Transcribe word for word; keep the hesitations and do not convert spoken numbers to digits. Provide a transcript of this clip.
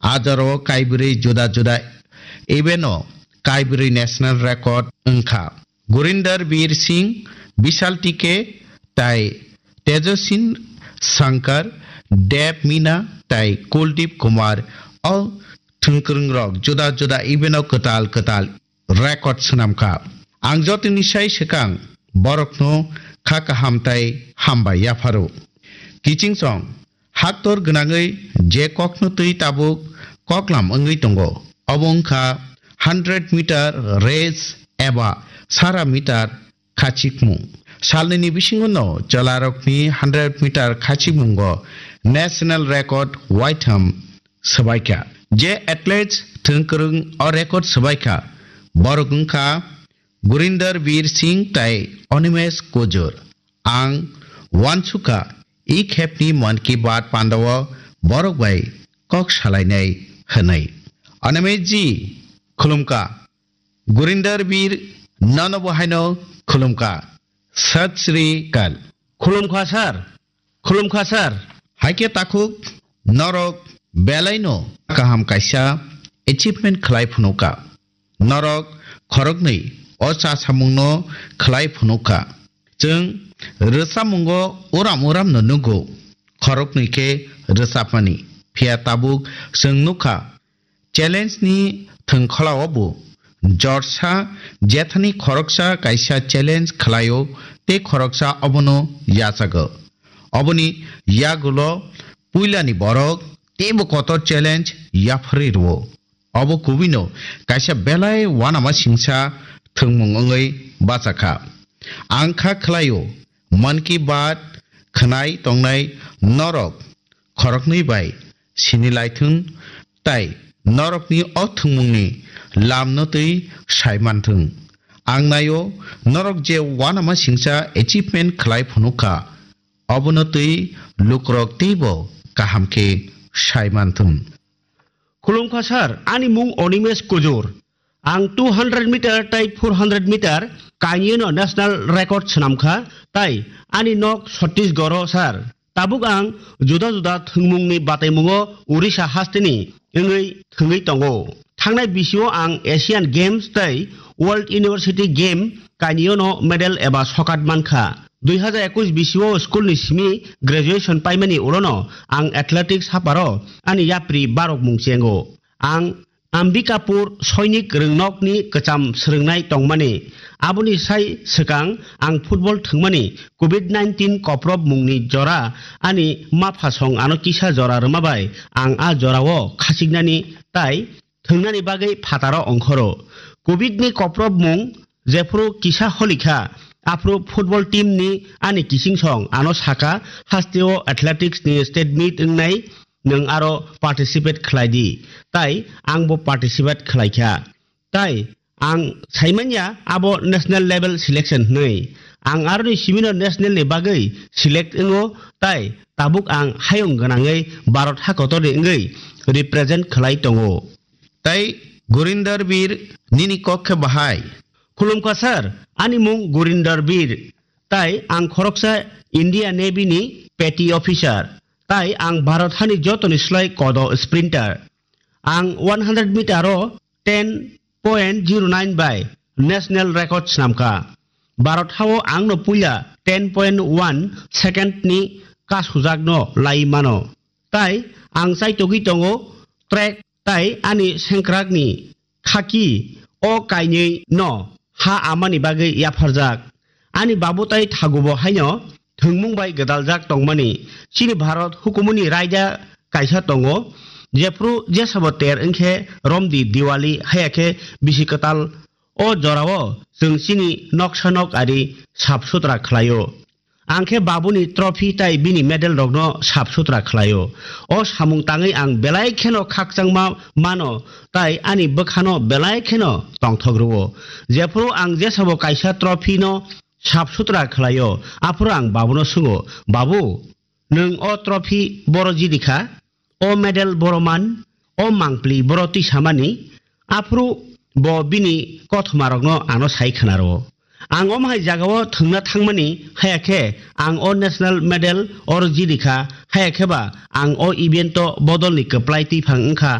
A jorao kaibrwi juda juda event-o kaibrwi national record wngkha. Gurinder Bir Singh, Bishal T K, tai Tejasin Shankar, Dev Meena tai Kuldeep Kumar o thwngkwrwngrok juda juda event-o kwtal kwtal record swnamkha. Ang jotoni sai swkang borokno kha kaham tai hambai yapharo. Kiching song, haktor gwnangwi je kokno twi tabuk koklam wngwi tongo, obo wngkha hundred meter race eba sara meter khachikmung. Salnini bisingo no chwlarokni hundred meter khachikmungo national record waitham swbaikha. Je athletes thwngkwrwng o record swbaikha, borok wngkha Gurinder Bir Singh tai Animesh Kujur. Ang uansukha, i khepni Mann Ki Baat pandao borok bai kok salainai hwnwi. Animesh ji, khulumkha. Gurinder Bir, nono bo haino khulumkha. Sat Sri Akal. Khulumkha sir. Khulumkha sir. Haikhe takhuk norok belaino kaham kaisa achievement khlai phunukha. Norok khoroknwi o cha samungno khlai phunukha. Chwng rwchapmungo uram uramno nugo, khoroknwi khe rwchapmani. Phiya tabuk chwng nukha, challenge ni thwngkholao bo jorsa jethani khoroksa kaisa challenge khlaio tei khoroksa obono yachago. Oboni yagulo puilani borok teibo kotor challenge yapharwi rwo. Obo kubui no kaisa belai uanama singsa thwngmung wngwi bachakha. Ang kha khlaio, Mann Ki Baat khwnai tongnai norok khoroknwi bai sini laithung tai norokni o thwngmungni lamno twi sai manthung. Ang naio norok je uanama singsa achievement khlai phunukha, obono twi lukurok teibo kaham khe sai manthung. Khulumkha sir, ani mung Animesh Kujur. Ang two hundred meter tai four hundred meter kainwino national record swnamkha, tai ani nok Chhattisgarh-o sir. Tabuk ang juda juda thwngmungni bataimungo Orissa hasteni wngwi thwngwi tongo. Thangnai bisio ang Asian Games tai World University Game kainwino medal eba sokat mankha. Dui hazar ekush bisio school ni simi graduation paimani ulono ang athletics haparo ani yapri barok mung chengo. Ang Ambikapur Soinik Rwngnokni kwcham swrwngnai tongmani. Aboni sai swkang ang football thwngmani covid nineteen koprob mungni jora ani maphasong ano kisa jora rwma bai ang a jorao khasiknani tai thwngnani bagwi phataro ongkhoro. Covid ni koprob mung jephuru kisa holikha, aphuru football team ni ani kiching song ano saka, hasteo athletics ni state meet wngnai, nwng aro participate khlai di. Tai ang bo participate khlai kha. Tai ang saimanya abo national level selection hwnwi. Ang aroni simino national ni bagwi select wngo, tai tabuk ang hayung gwnangwi Bharat hakotorni wngwi represent khlai tongo. Tai Gurinder Bir, nini kok khe bahai? Khulumkha sir, ani mung Gurinder Bir. Tai ang khoroksa India Navy ni petty officer. Tai ang Bharat hani jotoni slai kodo sprinter. Ang one hundred meter o ten point zero nine bai national record swnamkha. Bharat hao angno puila ten point one second ni kasujakno lai mano. Tai ang chaitogwi tongo track tai ani sengkrakni khaki o kainwi no ha amani bagwi yapharjak. Ani babu tai thagubo haino thwngmung bai gwdaljak tongmani. Chini Bharat hukumuni raida kaisa tongo, jephru jesabo ter wngkhe romdi Diwali, haya khe bisi kwtal. O jorao chwng chini noksa nok ari sap sutra khlaio. Ang khe babuni trophy tai bini medal rokno sap sutra khlaio. O samung tangwi ang belai kheno khakchangma mano tai ani bwkhano belai kheno tongthok rwo. Jephru ang jesabo kaisa trophy no sap sutra khlaio, aphuru ang babuno swngo, "Babu, nwng o trophy boro jidi kha, o medal boro man, o mangpli boro twi samani?" Aphuru bo bini kothomarokno ano sai khna rwo. Ang omo hai jagao thwngna thangmani, haya khe ang o national medal oro jidi kha, haya khe ba ang o event o bodolni kwplai twiphang wngkha.